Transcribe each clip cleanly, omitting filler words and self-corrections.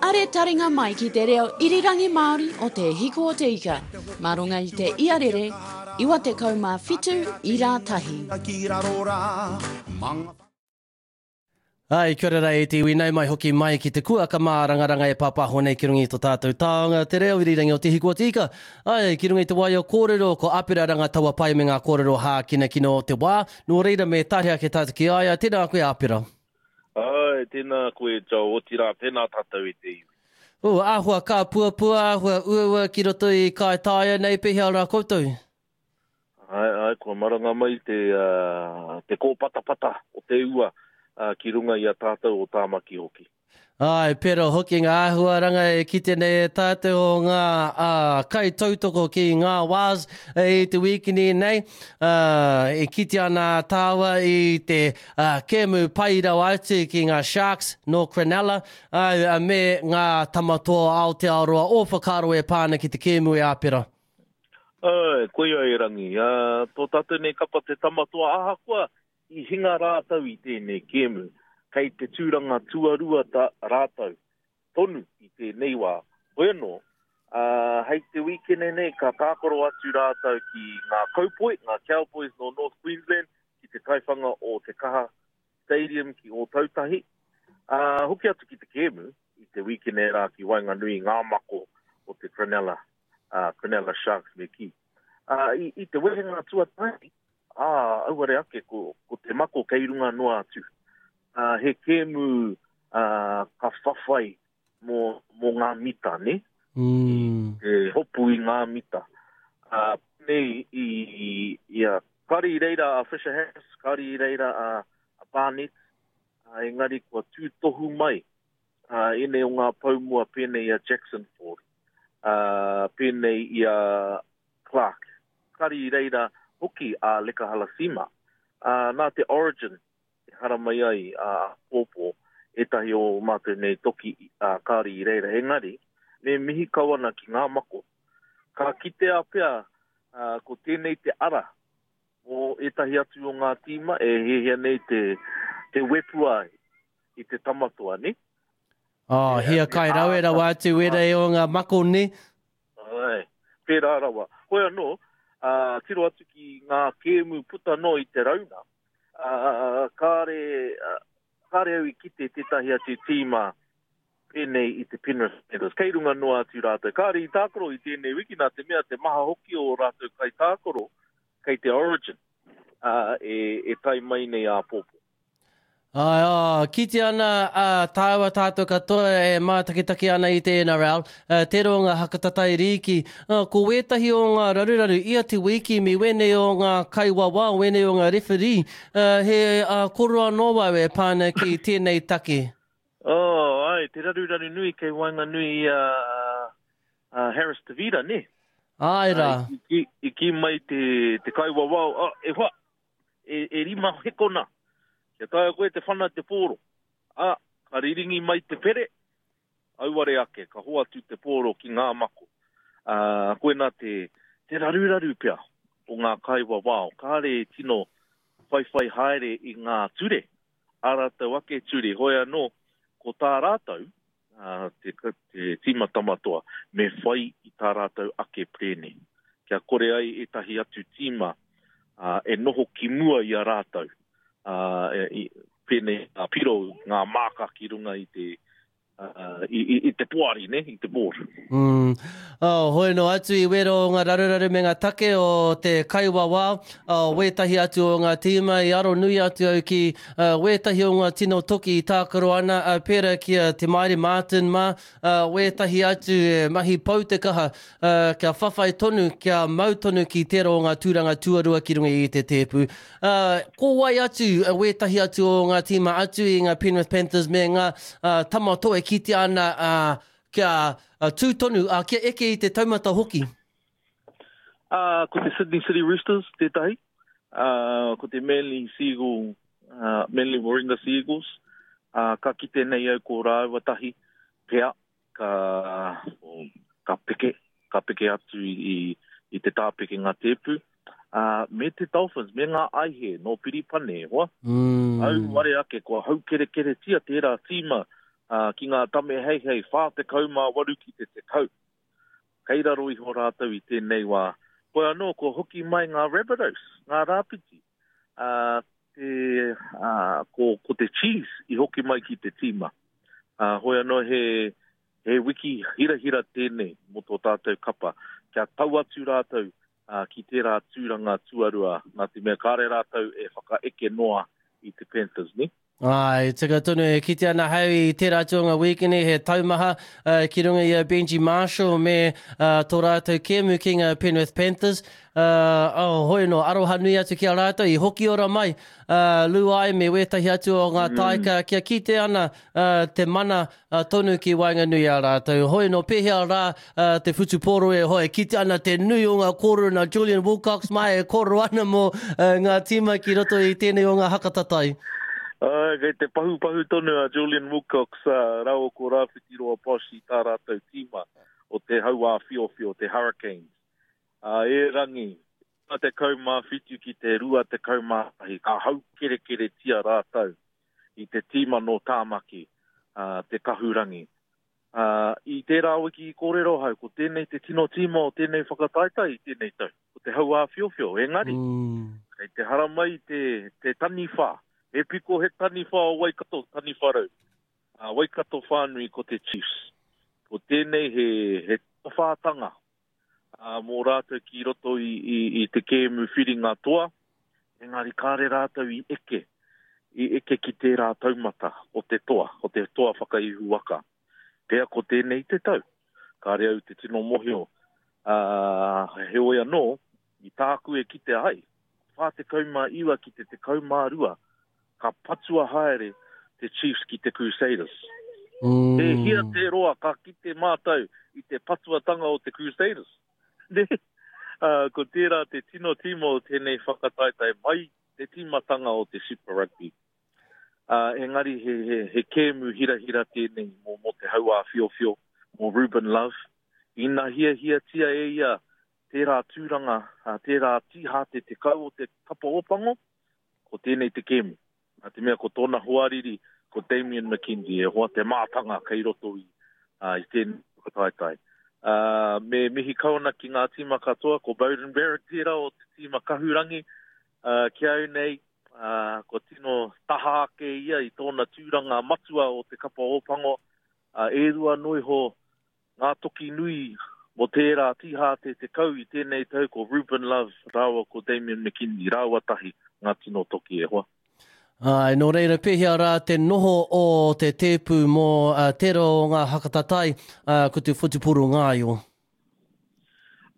Are taringa mai ki te reo irirangi Māori o Te Hiku o Te Ika, mā runga i te iarere 97 ira tahi. Ai, kia ora rā e te iwi, nau mai hoki mai ki te kuaka mārangaranga e pāpāho nei ki runga i to tātou taonga, te reo irirangi o Te Hiku o Te Ika. Ai, ki runga i te waio kōrero, ko Apera Rangataua pai me ngā kōrero hākinakina o te wā, nō reira me tahe ake tātou ki a ia, tēnā koe Apera. Āe, tēnā koe Joe, otirā tēnā tātou e te iwi. Ū, āhua kāpuapua, āhua uaua ki roto i Kaitaia nei, pēhea rā koutou? Āe, āe, kua maranga mai te, te kōpatapata o te ua ki runga i a tātou o Tāmaki hoki. Āe, pērā hoki ngā āhuaranga e kite nei e tātou o ngā kaitautoko ki ngā wās i te wīkini nei. E kite ana tāua i te kēmu pai rawa atu ki ngā Sharks nō Cronulla, āe, me ngā Tamatoa o Aotearoa ō whakaaro e pā ana ki te kēmu e Āpera. Āe, koia e Rangi, tō tātou nei kapa te Tamatoa ahakoa I hinga rātou i tēnei kēmu, kei te tūranga tuarua ta rātou tonu i tēnei wā. Hoi anō, ā, hei te wīkene nei ka tākaro atu rātou ki ngā Kaupoi, ngā Cowboys nō North Queensland, ki te taiwhanga o Te Kaha Stadium ki Ōtautahi. Ā, hoki atu ki te kēmu i te wīkene rā ki waenganui i ngā mako o te Cronulla, ā, Cronulla Sharks me kī. Ā, i, i te wehenga tuatahi, Ā, auare ake, ko, ko te mako kei runga noa atu. Ā, he kēmu, ā, ka whawhai mō, mō ngā mita, nē? Mm. Te hopu i ngā mita. Ā, nei i, i a, kāre i reira a Fisher Harris, kāre i reira a, a Barnett, ā, engari kua tūtohu mai ā, ēnei o ngā pou mua pēnei i a Jackson Ford, ā, pēnei i a Clarke. Kari i reira hoki a Leka Halasima. Ā, nā te Origin i haramai ai a Pōpō, ētahi o mātou nei toki, ā, kāore i reira. Engari, me mihi kau ana ki ngā mako. Ka kitea pea, ā, ko tēnei te ara mō ētahi atu o ngā tīma e hiahia nei te, te wepua i te tamatoa, nē? Oh, hiakai rawe rawa atu wērā o ngā mako, nē? Āe, pērā rawa. Hoi anō, ā, tiro atu ki ngā kēmu puta noa i te rauna, ā, kāre, kāre au i kite tētahi atu tīma pēnei i te Penrith Panthers. Kei runga noa atu rātou. Kāre i tākaro i tēnei wiki nā te mea te maha hoki o rātou kaitākaro kei te Origin, ā, e, e tae mai nei āpōpō. Āe, ā, kite ana a tāua tātou katoa e mātakitaki ana i te NRL, tērā o ngā hakatatai rīki. Ko wētahi o ngā raruraru ia te wiki me wēnei o ngā kaiwawao, wēnei o ngā referee, he koro anō au e pā ana ki tēnei take. Oh, āe, te raruraru nui kei waenganui i a Harris Tavita, nē? Āe rā. I kī mai te kaiwawao, oh, e hoa, e, e rima hekona, kia taea koe te whana te pōro. Ā, ka riringi mai te pere, auare ake, ka hoatu te pōro ki ngā mako. Ā, koinā te, te raruraru pea o ngā kaiwawao, kāre e tino whaiwhai haere i ngā ture, ā rātou ake ture, hoi anō, ko tā rātou, ā, te, te tīma Tamatoa, me whai i tā rātou ake perēne, kia kore ai ētahi atu tīma, ā, e noho ki mua i a rātou, ā, e, i, pēnei ngā piro, ngā māka ki runga i te, ā, i, i, i te poari, ne, i te board. Mm. Oh, hoi no atu i wero o ngā raruraru me ngā take o te kaiwawao, oh, wētahi atu o ngā tīma i aro nui atu au ki uh, wētahi o ngā tino toki i tākaro ana, uh, pērā ki a Te Maire Martin mā, uh, wētahi atu e mahi pau te kaha, uh, kia whawhai tonu, kia mau tonu ki tērā o ngā tūranga tuarua ki runga i te tēpu. Uh, ko wai atu uh, wētahi atu o ngā tīma atu i ngā Penrith Panthers me ngā uh, tama toi e kitea ana uh, Kia tū tonu, ā, kia eke i te taumata hoki. Ā, ko te Sydney City Roosters tētahi, ā, ko te Manly Seagull, ā, Manly Warringah Sea Eagles, ā, ka kite nei au ko rāua tahi pea ka, ka peke, ka peke atu i, i te tāpekenga tēpu, ā, me te Dolphins, me ngā aihe nō Piripane, e hoa. Mm. Auare ake, kua haukerekeretia tērā tīma. Ā, ki ngā tame heihei 48 ki te 10. Kei raro iho rātou i tēnei wā. Hoi anō, kua hoki mai ngā Rabbitohs, ngā Rāpiti, ā, te, ā, ko, ko te Chiefs i hoki mai ki te tīma. Ā, hoi anō he, he wiki hirahira tēnei mō tō tātou kapa, kia tau atu rātou, ā, ki tērā tūranga tuarua, nā te mea kāre rātou e whakaeke noa i te Panthers, nē? Āe, tika tonu e kite ana hau i tērā atu o ngā wīkeni he taumaha ki runga i a Benji Marshall me tō rātou kēmu ki ngā Penrith Panthers. Oh, hoi no, aroha nui atu ki a rātou i hoki ora mai Luai me wētahi atu o ngā taika kia kite ana te mana tonu ki waenganui i a rātou. Hoi nō pēhea rā te whutupōro e hoa e kite ana te nui o ngā kōrero nā Julian Wilcox mā e kōrero ana mō ngā tīma ki roto i tēnei o ngā hakatatai. Āe, kei te pahupahu tonu a Julian Wilcox rāua ko Rāwhitiroa Bosch i tā rātou tīma o te Hauāwhiowhio, te Hurricanes. Ā, erangi, 27 ki te 21, ka haukerekeretia rātou i te tīma nō Tāmaki, te Kahurangi. Ā, i tērā wiki i kōrero ahau, ko tēnei te tino tīma o tēnei whakataetae i tēnei tau, ko te Hauāwhiowhio. Engari, kei te haramai te, te taniwha, he piko he taniwha o Waikato, taniwha rau. Ā, Waikato whānui ko te Chiefs. Ko tēnei he, he tawhātanga ā, mō rātou ki roto i, i, i te kēmu whiringa toa, engari kāre rātou i eke, i eke ki tērā taumata o te toa, o te toa whakaihu waka. Pea ko tēnei te tau, kāre au te tino mohio, ā, heoi anō, i tāku e kite ai, 49 ki te 12, ka patua haere te Chiefs ki te Crusaders. Mm. E hia te roa ka kite mātou i te patuatanga o te Crusaders. Ne? Uh, ko tērā te tino tīma o tēnei whakataetae mai te tīmatanga o te Super Rugby. Uh, engari he, he, he kēmu hirahira tēnei mō, mō te hauāwhiowhio, mō Ruben Love. Ina hiahiatia e ia tērā tūranga, tērā tīhāte 10 o te kapa Ōpango, ko tēnei te kēmu. Nā te mea ko tōna hoariri, ko Damian McKenzie, e hoa te mātanga kei roto i, uh, i tēnei whakataetae. Uh, me mihi kau ana ki ngā tīma katoa, ko Beauden Barrett tērā o te tīma Kahurangi, uh, ki au nei, uh, ko tino taha ake ia i tōna tūranga matua o te kapa Ōpango, uh, e rua noiho Ngā toki nui mō tērā tīhāte 10 i tēnei tau ko Ruben Love rāua ko Damian McKenzie, rāua tahi ngā tino toki e hoa. Āe, nō reira pēhea rā te noho o te tēpu mō tērā o ngā hakatatai, ko te whutupōro ngāio?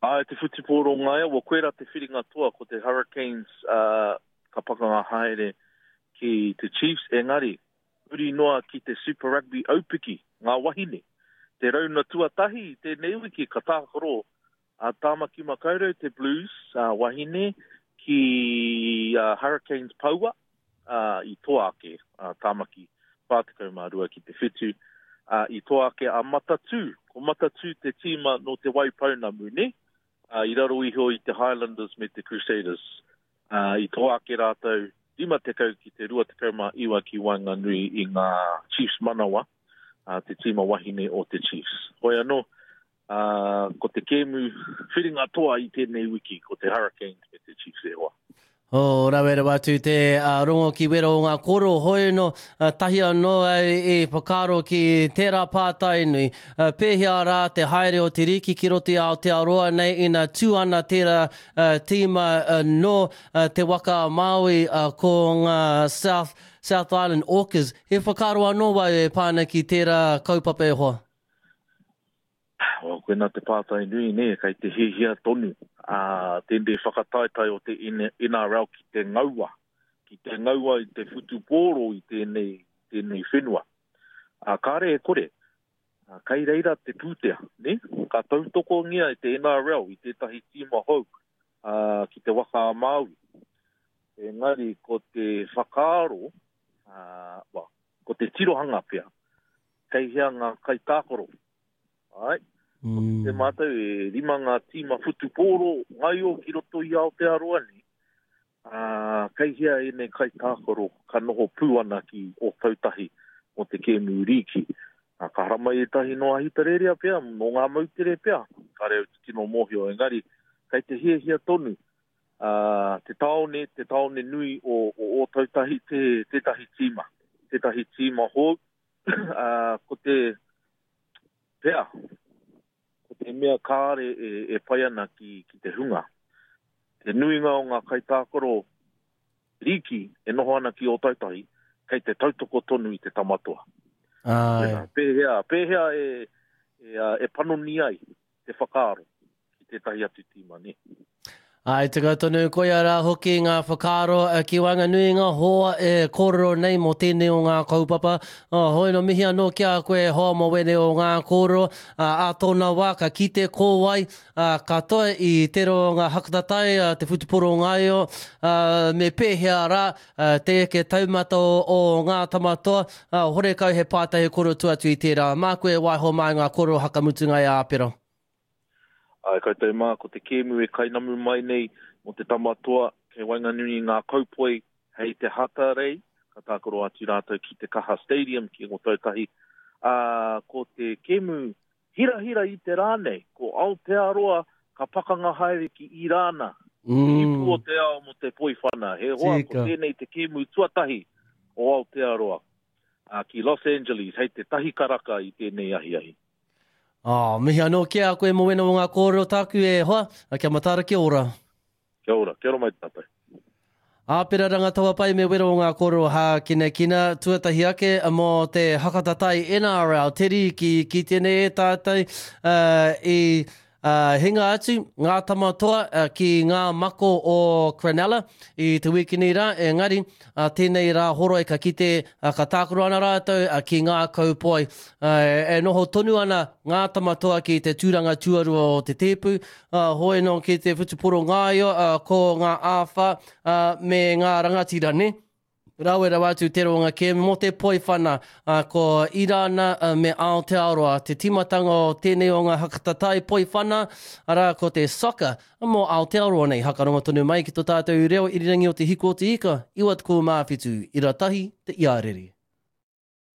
Āe, te whutupōro ngāio, well, koirā te whiringa toa, ko te Hurricanes ka pakanga haere ki te Chiefs, engari, huri noa ki te Super Rugby aupiki, ngā wahine. Te rauna tuatahi i tēnei wiki ka tākaro a Tāmaki Makaurau, te Blues wahine, ki Hurricanes Poua, i toa ake a Tāmaki 42 ki te 7, i toa ake a Matatū. Ko Matatū te tīma nō Te Waipounamu, nē? I raro iho i te Highlanders me te Crusaders. Ā, i toa ake rātou 50 ki te 29 ki waenganui i ngā Chiefs manawa, ā, te tīma wahine o te Chiefs. Hoi anō, ā, ko te kēmu whiringa toa i tēnei wiki, ko te Hurricanes me te Chiefs e hoa. Oh, rawe rawa atu te rongo ki wera o ngā kōrero, hoi anō, tahi anō au i whakaaro ki tērā pātai nui, pēhea rā te haere o te rīki ki roto i Aotearoa nei ina tū ana tērā tīma nō Te Waka a Māui ko ngā South, South Island Orcas. He whakaaro anō wau e pā ana ki tērā kaupapa e hoa? Well, koinā te pātai nui, nē, kei te hiahia tonu a tēnei whakataetae o te NRL ki te ngaua, ki te ngaua i te whutupōro i tēnei, tēnei whenua. Ā, kāre e kore, kei reira te pūtea, nē? Ka tautokongia e te NRL i tētahi tīma hou ā, ki te Waka a Māui. Engari ko te whakaaro, ā, well, ko te tirohanga pea, kei hea ngā kaitākaro. Āe, ko te mātou e rima ngā tīma whutupōro ngaio ki roto i Aotearoa nei, ā, kei hea ēnei kaitākaro ka noho pū ana ki Ōtautahi mō te kēmu rīki. Ā, ka haramai ētahi nō Ahitereiria pea, nō ngā moutere pea, kāre au te tino mōhio, engari kei te hiahia tonu ā, te tāone, te tāone nui o, o Ōtautahi te, tētahi tīma, tētahi tīma hou, ā, ko te pea, ko te mea kāre e, e pai ana ki, ki te hunga. Te nuinga o ngā kaitākaro rīki e noho ana ki Ōtautahi, kei te tautoko tonu i te tama toa. Āe. Pēhea, pēhea e, e, e panoni ai te whakaaro ki tētahi atu tīma, nē? Āe, tika tonu, koia rā hoki ngā whakaaro ki waenganui i ngā hoa e kōrero nei mō tēnei o ngā kaupapa. Hoi nō mihi anō ki a koe e hoa mō wēnei o ngā kōrero. Ā tōna wā ka kite ko wai katoa i tērā o ngā hakatatai a te whutupōro ngaio, ā, me pēhea rā te eke taumata o ngā tama toa, ā, horekau he pātai he kōrero tua atu i tērā. Māku e waiho mā ngā kōrero hakamutunga e Āpera. Āe koutou mā, ko te kēmu e kainamu mai nei mō te tama toa kei waenganui i ngā kaupoi hei te Hatarei, ka tākaro atu rātou ki te Kaha Stadium ki Ōtautahi, ā, ko te kēmu Hirahira i te rā nei, ko Aotearoa ka pakanga haere ki Irāna, te ipu o te ao mō te poiwhana. He hoa, ko tēnei te kēmu tuatahi o Aotearoa ki Los Angeles hei te tahi karaka i tēnei ahiahi. Oh, mihi anō ki a koe mō wena o ngā kōrero tāku e hoa, kia mataara kia ora. Kia ora, kia ora mai tātou. Āpera Rangatawapai me wero o ngā kōrero hākinakina, tuatahi ake mō te hakatatai NRL, te rīki ki tēnei e tātou i hinga atu ngā tama toa ki ngā mako o Cronulla i te wīkini rā, engari tēnei rā horoi ka kite ka tākaro ana rātou ki ngā kaupoi. E noho tonu ana ngā tama toa ki te tūranga tuarua o te tēpu, Hoi nō ki te whutuporo ngāio, ko ngā āwha me ngā rangatira, nē? Rawe rawa atu te roanga kēmu mō te poiwhana, ko Irāna me Aotearoa te tīmatanga o tēnei o ngā hakatatai poiwhana, arā ko te soccer mō Aotearoa nei. Hakarongo tonu mai ki tō tātou reo irirangi o Te Hiku o Te Ika, 97, ira tahi te iarere.